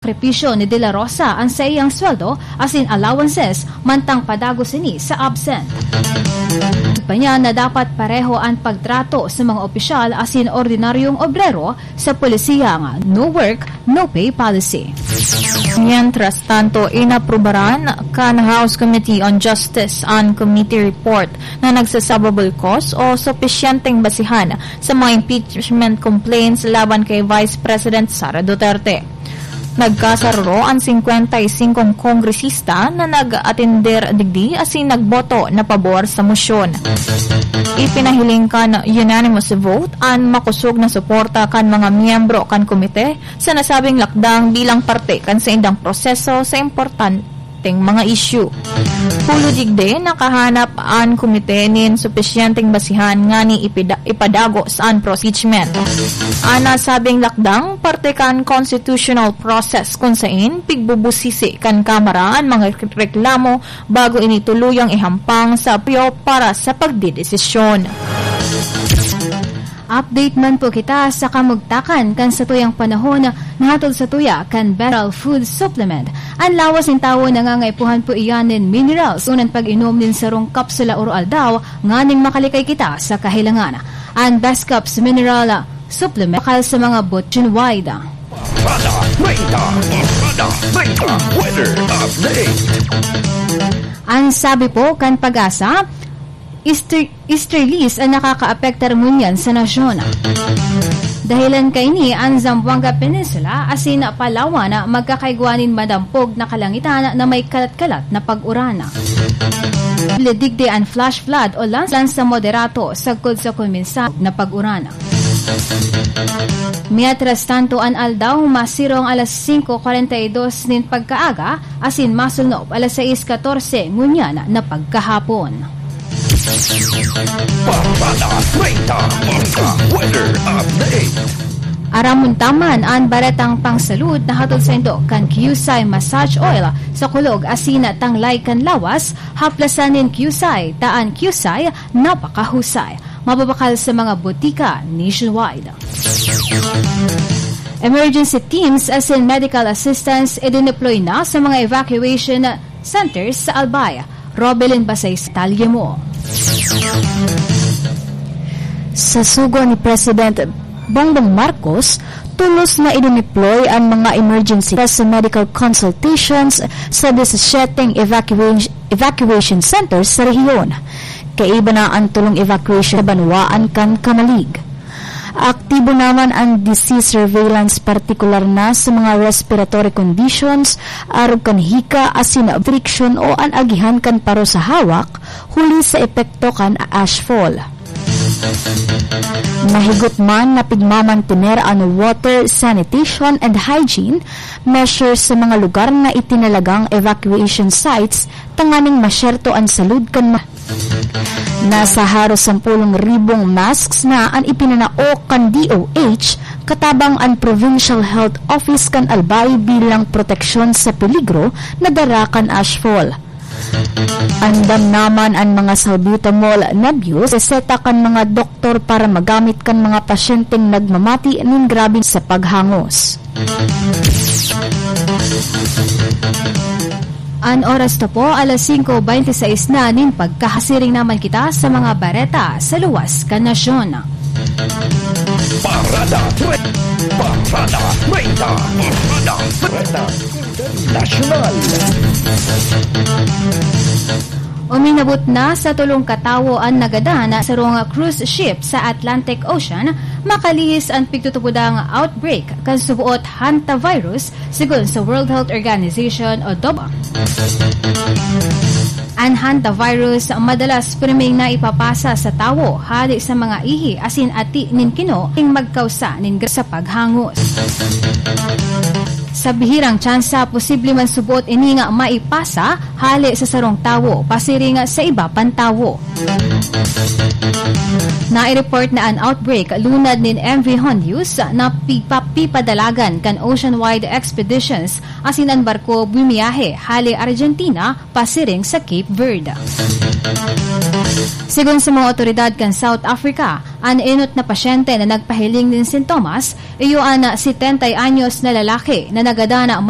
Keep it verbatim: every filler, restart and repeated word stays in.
sakripisyo ni De La Rosa an saiyang sweldo asin allowances mantang padagos ini sa absent. Pa niya na dapat pareho an pagtrato sa mga opisyal asin ordinaryong obrero sa polisiyang no work, no pay policy. Mientras tanto, inaprubaran kan House Committee on Justice an committee report na nagsasababol cause o supisyenteng basihan sa mga impeachment complaints laban kay Vice President Sara Duterte. Nagkasaruro an singkwenta y singkong kongresista na nag-atender digdi asin nagboto na pabor sa mosyon. Ipinahiling kan unanimous vote an makosog na suporta kan mga miyembro kan komite sa nasabing lakdang bilang parte kan saindang proseso sa importanteng mga isyu. Hulo digdi, nakahanap an komite nin supisyenteng basihan ngani ipida-, ipadagos an impeachment. An nasabing lakdang, parte kan constitutional process kun sain pigbubusisi kan Kamara an mga reklamo bago ini tuluyang ihampang sa Aplio para sa pagdedesisyon. Update man po kita sa kamugtakan kan satuyang panahon na hatod satuya kan Better Food Supplement. An lawas nin tawo nangangaipuhan po iyan nin minerals, unan pag-inom nin sarong kapsula oro-aldaw nganing makalikay kita sa kahilangan. An Best Cups Mineral Supplement, bakal sa mga bot-, nationwide. Parada treinta, Parada treinta, weather update. An sabi po kan PAGASA, Easter-, Easterlies an nakakaapektar ngunyan sa nasyon. Dahelan kaini an Zamboanga Peninsula asin Palawan magkakaigwa nin madampog na kalangitan na may kalat-kalat na pag-uran. Posible digdi an flash flood o landslides sa moderato sagkod sa kuminsa na pag-uran. Mientras tanto, an aldaw masirong alas singko kwarenta y dos nin pagkaaga asin masulnop alas sais katorse ngunyan na pagkahapon. Parada treinta, Parada Weather Update. Aramon ta man an baretang pangsalud na hatod saindo kan Qcy Massage Oil sa kulog asin tanglay kan lawas, haplasan nin Qcy, ta an Qcy napakahusay. Mababakal sa mga botika nationwide. Emergency teams asin medical assistance idineploy na sa mga evacuation centers sa Albay. Robelin Basay sa talye mo. Sa sugo ni President Bongbong Marcos, tolos na idineploy an mga emergency sa medical consultations sa disisiete evacuation, evacuation centers sa rehiyon. Kaiba na an tolong evacuation sa banwaan kan Camalig. Aktibo naman an disease surveillance, partikular na sa mga respiratory conditions, arog kan hika asin friction o an agihan kan paro sa hawak, huli sa epekto kan ashfall. Mahigot man na pigmamantener an water, sanitation and hygiene measures sa mga lugar na itinalagang evacuation sites tanganing masyerto an salud kan ma-, nasa haros sampulong ribong masks na an ipinanao kan D O H katabang an Provincial Health Office kan Albay bilang proteksyon sa peligro na dara kan ashfall. Andam naman an mga salbutamol na bius reseta kan mga doktor para magamit kan mga pasyenteng nagmamati nin grabe sa paghangos. An oras ta po, alas singko beintiseis na nin pagkahasiring naman kita sa mga bareta sa luwas kan nasyon. Parada Tre-, Parada treinta, Parada treinta Internasyonal. Uminabot na sa tolong katawo an nagadan sa sarong cruise ship sa Atlantic Ocean, makalihis an pigtutubodang outbreak kan suboot hantavirus, sigon sa World Health Organization o W H O. An hantavirus madalas priming naipapasa sa tawo hali sa mga ihi asin ati nin kino, ning magkausa nin gra-, sa paghangos. Sa bihirang tsansa, posible man suboot ini nga maipasa hali sa sarong tawo pasiring sa iba pang tawo. Nai-report na an outbreak lunad nin M V Hondius na pipa-, pipadalagan kan ocean-wide expeditions asin an barko bumiyahe hali Argentina pasiring sa Cape Verde. Sigon sa mga otoridad kan South Africa, an enot na pasyente na nagpahiling nin sintomas, iyo an setenta anyos na lalaki na nagadan man